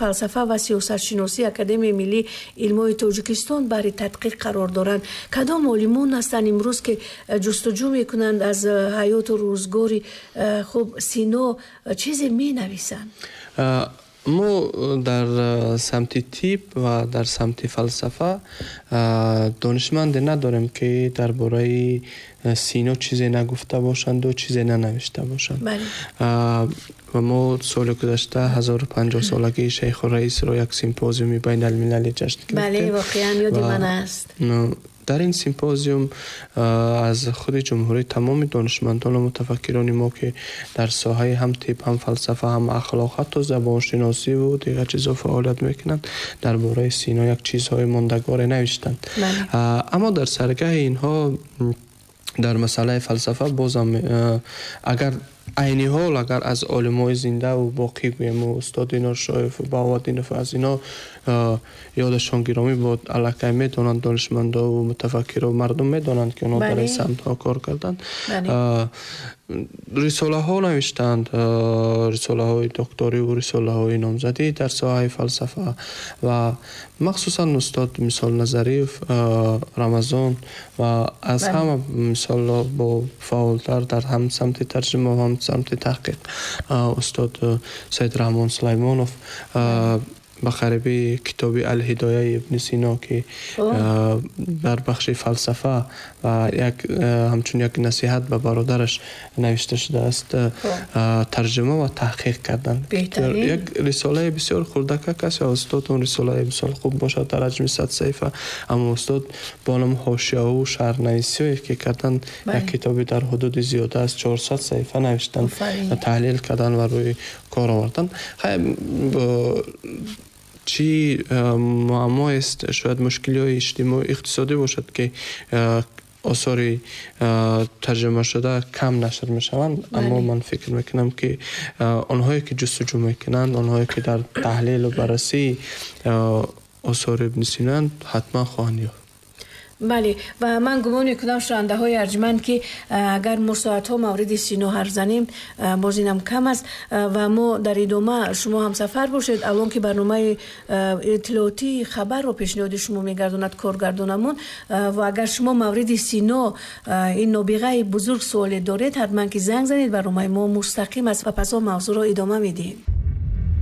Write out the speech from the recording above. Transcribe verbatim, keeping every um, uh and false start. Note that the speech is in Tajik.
фалсафа ва сиёсатшиносии Академияи миллии илмҳои Тоҷикистон барои тадқиқ қарор доранд. Кадом олимон ҳастанд имрӯз, ки ҷустуҷӯ мекунанд, аз ҳаёту рӯзгори хуб Сино чизе менависанд? Мо дар самти тиб ва дар самти фалсафа донишманде надорем, ки дар бораи Сино чизе нагуфта бошанду чизе нанавишта бошанд. Ва мо соли гузашта ҳазору панҷоҳ солагии Шайху Раисро як симпозиуми байналмилалӣ ҷашн гирифтем. Бале, воқеан ёди ман аст. Дар ин симпозиум аз худи ҷумҳурӣ тамоми донишмандон ва мутафаккирони мо, ки дар соҳаи ҳам тиб, ҳам фалсафа, ҳам ахлоқ, ҳатто забоншиносиву дигар чизҳо фаъолият мекунанд, дар бораи Сино як чизҳои мондагоре навиштанд. Аммо дар саргаҳи инҳо дар масъалаи фалсафа бозам, агар айни ҳол агар аз олимои зиндаву боқӣ гӯем, устод Иноршоев, Баҳоваддинов, аз ино ёдашон гиромӣ бод, аллакай медонанд донишмандову мутафаккиру мардум медонанд, ки онҳо дар ин самтҳо кор карданд, рисолаҳо навиштанд, рисолаҳои докториву рисолаҳои номзадӣ дар соҳаи фалсафа ва махсусан устод мисол Назариев Рамазон ва аз ҳама мисол бо фаъолтар дар ҳам самти тарҷума ва ҳам самти таҳқиқ устод Саидраҳмон Сулаймонов ба қариби китоби Алҳидояи Ибни Сино, ки дар бахши фалсафа ва як ҳамчун як насиҳат ба бародараш навишта шудааст, тарҷума ва таҳқиқ карданд. Як рисолаи бисёр хурдакак аст ва устод он рисолаи бисёр хуб бошад дар ҳаҷми сад саҳифа, аммо устод бо ном ҳошияҳову шарҳнависиҳое ки карданд, як китоби дар ҳудуди зиёда аз чорсад саҳифа навиштанд, таҳлил карданд ва рӯи кор оварданд. Чӣ муаммоест, шояд мушкилиҳои иҷтимоӣ иқтисодӣ бошад, ки осори тарҷумашуда кам нашр мешаванд, аммо ман фикр мекунам, ки онҳое ки ҷустуҷӯ мекунанд, онҳое ки дар таҳлилу баррасии осори Ибни Синоанд, ҳатман хоҳанд ёфт. Бале, ва ман гумон мекунам, шунавандаҳои арҷманд, ки агар мо соатҳо мавриди Сино ҳарф занем, боз инам кам аст ва мо дар идома шумо ҳамсафар бошед. Алон ки барномаи иттилоотии хабарро пешниҳоди шумо мегардонад коргардонамон, ва агар шумо мавриди Сино, ин нобиғаи бузург, суоле доред, ҳатман ки занг занед. Барномаи мо мустақим аст ва пас он мавзӯъро идома медиҳем.